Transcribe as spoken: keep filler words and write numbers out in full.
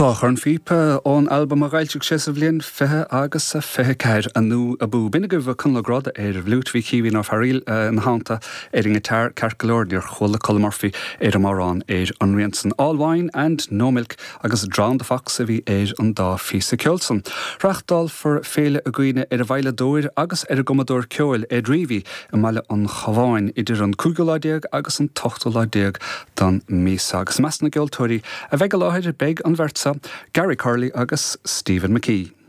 Dhá chornphíopa ón albam a d'fhoilsigh sé sa bhliain fiche agus a fiche ceathair Anu Abú. B'in agaibh Conall Ó Gráda ar an bhfliúit bhí Caoimhín Ó Fearaíl ina theannta ar an ngiotár ceart go leor níor chuala Colm Murphy ar an amhrán ar an rian san All Wine and No Milk agus Drown the Fox a bhí ar an dá phíosa ceoil san. Reáchtálfar féile i gcuimhne ar an veidhleadóir agus ar an gcumadóir ceoil Ed Reavy i mBaile an Chabháin idir an cúigiú lá déag agus an t-ochtú lá déag den mhí seo. Agus i measc na gceoltóirí a bheidh i láthair beidh an bheirt Gary Curley agus Stephen McKee.